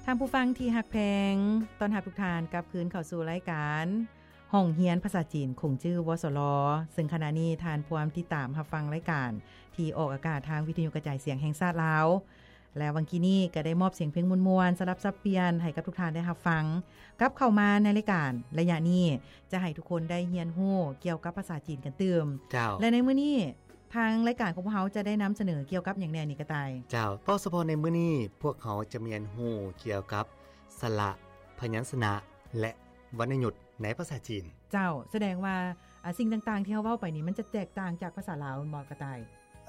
ທ່ານຜູ້ຟັງທີ່ຮັກແພງ, ຕ້ອນຮັບທຸກທ່ານກັບຄືນເຂົ້າສູ່ລາຍການຫ້ອງຮຽນພາສາຈີນຂົງຈື່ ວສລ ເຊິ່ງຂະນະນີ້ທ່ານພວມຕິດຕາມຮັບຟັງລາຍການທີ່ອອກອາກາດທາງວິທະຍຸກະຈາຍສຽງແຫ່ງຊາດລາວ ແລະ ຫວ່າງກີ້ນີ້ກໍໄດ້ມອບສຽງເພງມ່ວນໆ ສະຫຼັບສັບປ່ຽນໃຫ້ກັບທຸກທ່ານໄດ້ຮັບຟັງ. ກັບເຂົ້າມາໃນລາຍການໄລຍະນີ້ ຈະໃຫ້ທຸກຄົນໄດ້ຮຽນຮູ້ກ່ຽວກັບພາສາຈີນກັນຕື່ມ. ເຈົ້າ. ແລະ ໃນມື້ນີ້ ທາງລາຍການຂອງພວກເຮົາຈະໄດ້ນຳສະເໜີກ່ຽວກັບຫຍັງແດ່ນີ້ ກະຕ່າຍ? ເຈົ້າ, ເວົ້າສະເພາະໃນມື້ນີ້ ພວກເຮົາຈະມາຮຽນຮູ້ກ່ຽວກັບສະຫຼະ, ພະຍັນຊະນະ ແລະ ວັນນະຍຸດໃນພາສາຈີນ. ເຈົ້າ, ສະແດງວ່າ ອາ, ສິ່ງຕ່າງໆທີ່ເຮົາເວົ້າໄປນີ້ ມັນຈະແຕກຕ່າງຈາກພາສາລາວແມ່ນບໍ່ ກະຕ່າຍ?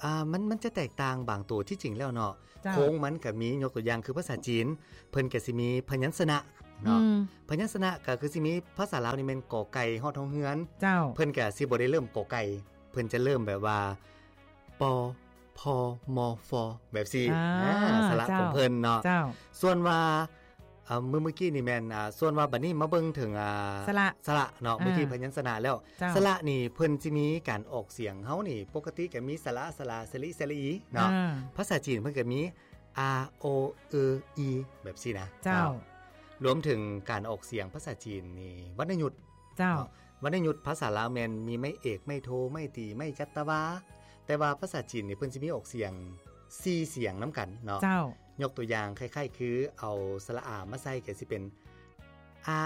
ອາ, ມັນ, ມັນຈະແຕກຕ່າງບາງໂຕ. ທີ່ຈິງແລ້ວເນາະ, ເຈົ້າ. ໂຄງມັນກະມີ, ຍົກຕົວຢ່າງຄືພາສາຈີນ ເພິ່ນກະຊິມີພະຍັນຊະນະເນາະ. ອືມ. ພະຍັນຊະນະກະຄືຊິມີ, ພາສາລາວນີ້ແມ່ນ ກ ໄກ່ ຮອດ ຮໍ ເຮືອນ. ເຈົ້າ. ເພິ່ນກະຊິບໍ່ໄດ້ເລີ່ມ ກ ໄກ່. ເພິ່ນຈະເລີ່ມແບບວ່າ ປ ພ ມ ຟ ແບບຊີ້. ອາ ອາ ສະຫຼະ ເຈົ້າ ຂອງເພິ່ນເນາະ. ເຈົ້າ. ສ່ວນວ່າ ອາ ມື້ ມື້ກີ້ນີ້ແມ່ນ ອາ ສ່ວນວ່າບັດນີ້ມາເບິ່ງເຖິງ ອາ ສະຫຼະ ສະຫຼະເນາະ. ອາ ມື້ກີ້ພະຍັນຊະນະແລ້ວ. ເຈົ້າ. ສະຫຼະນີ້ເພິ່ນຊິມີການອອກສຽງ. ເຮົານີ້ປົກກະຕິກະມີ ສະຫຼະ ສະລາ ສະລິ ສະລີ ເນາະ. ອາ ພາສາຈີນເພິ່ນກະມີ ອາ ໂອ ອື ອີ ແບບຊີ້ນະ. ເຈົ້າ. ເຈົ້າ. ລວມເຖິງການອອກສຽງພາສາຈີນນີ້ ວັນນະຍຸດ. ເຈົ້າ. ເນາະ. ວັນນະຍຸດພາສາລາວແມ່ນມີໄມ້ເອກ, ໄມ້ໂທ, ໄມ້ຕີ, ໄມ້ຈັດຕະວາ, ແຕ່ວ່າພາສາຈີນນີ້ເພິ່ນຊິມີອອກສຽງສີ່ສຽງນຳກັນເນາະ. ເຈົ້າ. ຍົກຕົວຢ່າງຄ້າຍໆຄືເອົາສະຫຼະອາມາໃສ່ກໍຊິເປັນ ອາ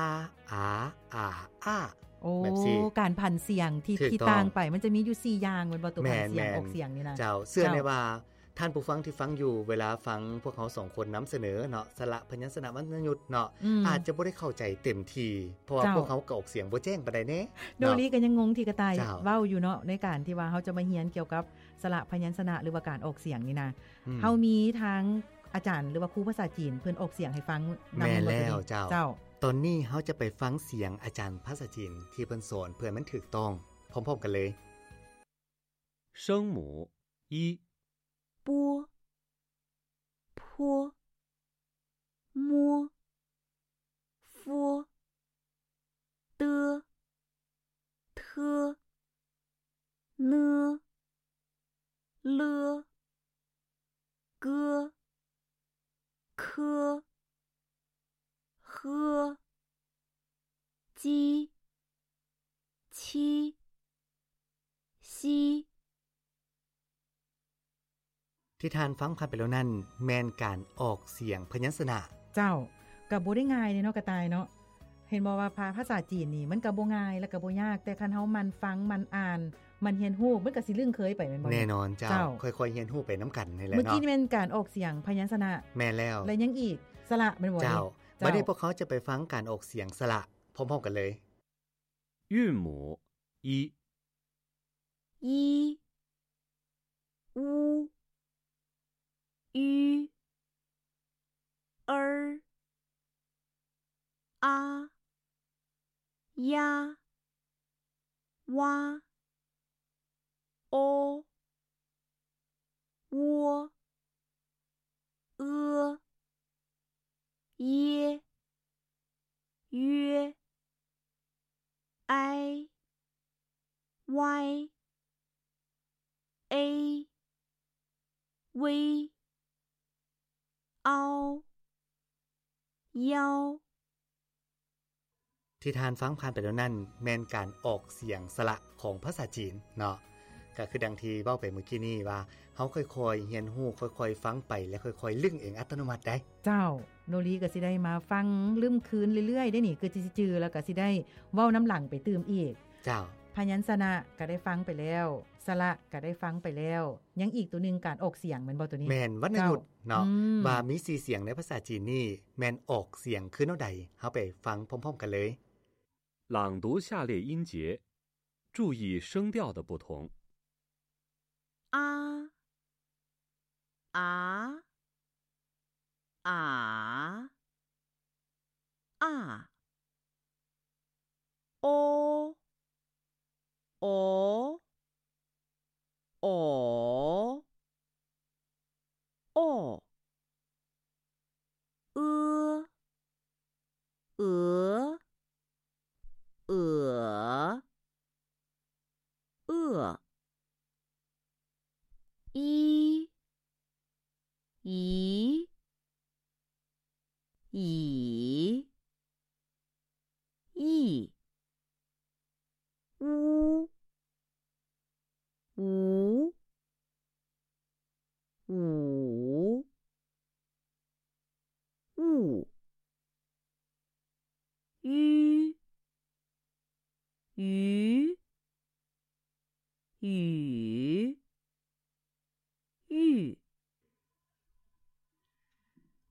ອາ ອາ ອາ ໂອ້ ແບບຊີ້. ການຜັນສຽງທີ່ ຖືກຕ້ອງ ທີ່ຕ່າງໄປ ມັນຈະມີຢູ່ສີ່ຢ່າງແມ່ນບໍ່? ໂຕຜັນສຽງ ແມ່ນໆ ອອກສຽງນີ້ນະ. ເຈົ້າ. ເຊື່ອແນ່ວ່າ ເຈົ້າ. ທ່ານຜູ້ຟັງທີ່ຟັງຢູ່ ເວລາຟັງພວກເຮົາສອງຄົນນຳສະເໜີເນາະ ສະຫຼະ ພະຍັນຊະນະ ວັນນະຍຸດເນາະ ອືມ ອາດຈະບໍ່ໄດ້ເຂົ້າໃຈເຕັມທີ່ ເພາະວ່າ ເຈົ້າ ພວກເຮົາກໍອອກສຽງບໍ່ແຈ້ງປານໃດແດ່ເນາະ. ໂນລີກໍຍັງງົງທີ່ກະຕ່າຍ ເຈົ້າ ເວົ້າຢູ່ເນາະ ໃນການທີ່ວ່າເຮົາຈະມາຮຽນກ່ຽວກັບສະຫຼະ ພະຍັນຊະນະ ຫຼືວ່າການອອກສຽງນີ້ນະ. ອືມ ເຮົາມີທາງອາຈານ ຫຼືວ່າຄູພາສາຈີນ ເພິ່ນອອກສຽງໃຫ້ຟັງນຳ. ແມ່ນແລ້ວ ເຈົ້າ. ເຈົ້າ. ຕອນນີ້ເຮົາຈະໄປຟັງສຽງອາຈານພາສາຈີນທີ່ເພິ່ນສອນ ເພື່ອໃຫ້ມັນຖືກຕ້ອງ ພ້ອມໆກັນເລີຍ. 声母一，波、坡、摸、佛、的、特、呢、了、个、科、呵、 ຈີ ຊີ ຊີ ທີ່ທ່ານຟັງຜ່ານໄປແລ້ວນັ້ນ ແມ່ນການອອກສຽງພະຍັນຊະນະ. ເຈົ້າ, ກໍບໍ່ໄດ້ງ່າຍເດ້ເນາະ ກະຕ່າຍເນາະ. ເຫັນບໍ່ວ່າພາ, ພາສາຈີນນີ້ ມັນກໍບໍ່ງ່າຍ ແລະກໍບໍ່ຍາກ, ແຕ່ຄັນເຮົາໝັ່ນຟັງ, ໝັ່ນອ່ານ, ໝັ່ນຮຽນຮູ້, ມັນກໍຊິລຶ້ງເຄີຍໄປ ແມ່ນບໍ່? ແນ່ນອນເຈົ້າ. ເຈົ້າ. ຄ່ອຍໆຮຽນຮູ້ໄປນຳກັນນີ້ແຫຼະເນາະ. ມື້ກີ້ນີ້ແມ່ນການອອກສຽງພະຍັນຊະນະ. ແມ່ນແລ້ວ. ແລະຍັງອີກ ສະຫຼະ ແມ່ນບໍ່? ເຈົ້າ. ເຈົ້າ. ບັດນີ້ພວກເຮົາຈະໄປຟັງການອອກສຽງສະຫຼະພ້ອມໆກັນເລີຍ. 韵母一。一、乌、鱼、儿、阿、鸭、蛙、 โอ วัว เอือ เย เย ไอ ไว เอ เว เอา เยา ທີ່ທ່ານຟັງຜ່ານໄປແລ້ວນັ້ນ ແມ່ນການອອກສຽງສະຫຼະຂອງພາສາຈີນເນາະ. ກໍຄືດັ່ງທີ່ເວົ້າໄປມື້ກີ້ນີ້ວ່າ ເຮົາຄ່ອຍໆຮຽນຮູ້, ຄ່ອຍໆຟັງໄປ ແລະ ຄ່ອຍໆລຶ້ງເອງອັດຕະໂນມັດໄດ໋. ເຈົ້າ, ໂນລີກໍຊິໄດ້ມາຟັງລຶ້ມຄືນເລື້ອຍໆເດ້ນີ້, ຄືຊິຈື່ ແລ້ວກໍຊິໄດ້ເວົ້ານຳຫຼັງໄປຕື່ມອີກ. ເຈົ້າ. ພະຍັນຊະນະກໍໄດ້ຟັງໄປແລ້ວ, ສະຫຼະກໍໄດ້ຟັງໄປແລ້ວ, ຍັງອີກໂຕໜຶ່ງ ການອອກສຽງແມ່ນບໍ່ໂຕນີ້? ແມ່ນ, ວັນນະຍຸດເນາະ. ເຈົ້າ. ອືມ. ວ່າມີສີ່ສຽງໃນພາສາຈີນນີ້ ແມ່ນອອກສຽງຄືແນວໃດ? ເຮົາໄປຟັງພ້ອມໆກັນເລີຍ. 朗读下列音节，注意声调的不同。 อา อา อา อา โอ โอ โอ โอ เอือ เอือ เอือ เอื้อ อี อี อี อี อู อู อู อู อี อี อี อี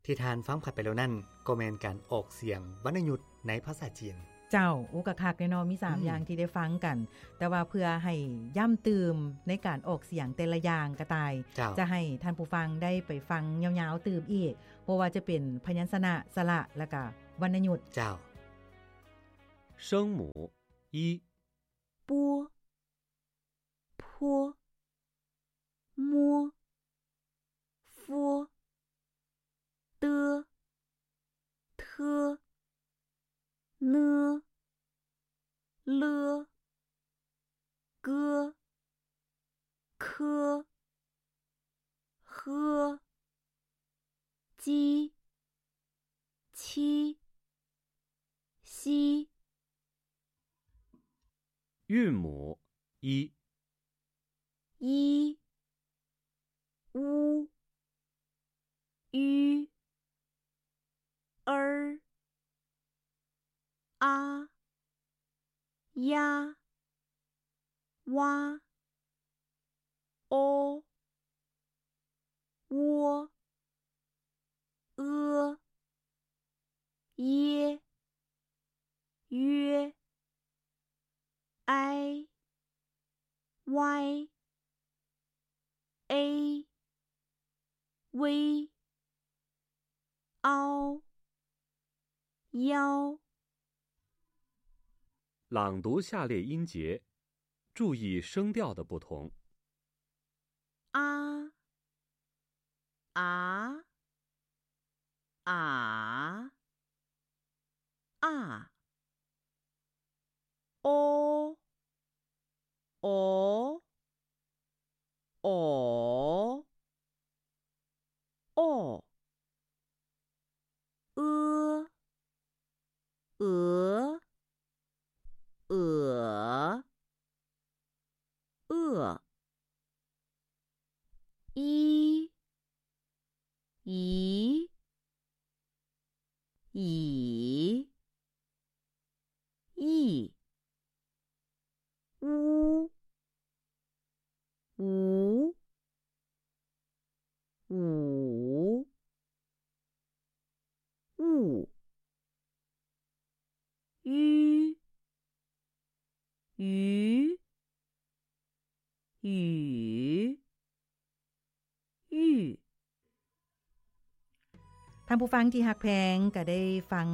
ທີ່ທ່ານຟັງຜ່ານໄປແລ້ວນັ້ນ ກໍແມ່ນການອອກສຽງວັນນະຍຸດໃນພາສາຈີນ. ເຈົ້າ, ໂອ້ ກະຄັກເດ້ເນາະ, ມີສາມ ອືມ ຢ່າງທີ່ໄດ້ຟັງກັນ, ແຕ່ວ່າເພື່ອໃຫ້ຢ້ຳຕື່ມໃນການອອກສຽງແຕ່ລະຢ່າງກະຕ່າຍ, ເຈົ້າ ຈະໃຫ້ທ່ານຜູ້ຟັງໄດ້ໄປຟັງຍາວໆຕື່ມອີກ, ບໍ່ວ່າຈະເປັນພະຍັນຊະນະ, ສະຫຼະ ແລະກະວັນນະຍຸດ. ເຈົ້າ. 声母 一. 波 坡 摸 佛 的 特 呢 了 个 科 呵 鸡 七 西。韵母 i. 一 u 一 er 阿 ya 哇 o窝 ë 耶 约 ai 歪 ei 微 ao 腰。朗读下列音节，注意声调的不同。 a 啊 啊 啊 o 哦 哦 哦 ë 呃 呃 ë 一 一 一 一 五 五 五 五 鱼 鱼 鱼 玉。 ທ່ານຜູ້ຟັງທີ່ຮັກແພງ ກະໄດ້ຟັງ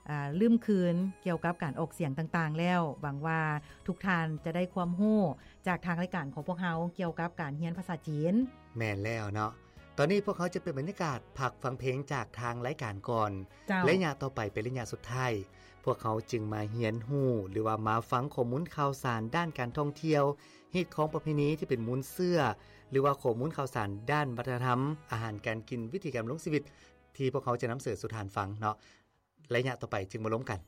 ອ່າ ລືມຄືນກ່ຽວກັບການອອກສຽງຕ່າງໆແລ້ວ. ຫວັງວ່າທຸກທ່ານຈະໄດ້ຄວາມຮູ້ຈາກທາງລາຍການຂອງພວກເຮົາກ່ຽວກັບການຮຽນພາສາຈີນ. ແມ່ນແລ້ວເນາະ. ຕອນນີ້ພວກເຮົາຈະເປັນບັນຍາກາດພັກຟັງເພງຈາກທາງລາຍການກ່ອນ. ເຈົ້າ. ໄລຍະຕໍ່ໄປເປັນໄລຍະສຸດທ້າຍ. ພວກເຮົາຈຶ່ງມາຮຽນຮູ້ ຫຼືວ່າມາຟັງຂໍ້ມູນຂ່າວສານດ້ານການທ່ອງທ່ຽວ, ຮີດຄອງປະເພນີທີ່ເປັນມູນເຊື້ອ ຫຼືວ່າຂໍ້ມູນຂ່າວສານດ້ານວັດທະນະທຳ, ອາຫານການກິນ, ວິຖີການດຳລົງຊີວິດ ທີ່ພວກເຮົາຈະນຳເສນສູ່ທ່ານຟັງເນາະ. ໄລຍະຕໍ່ໄປຈຶ່ງມາລົມກັນ.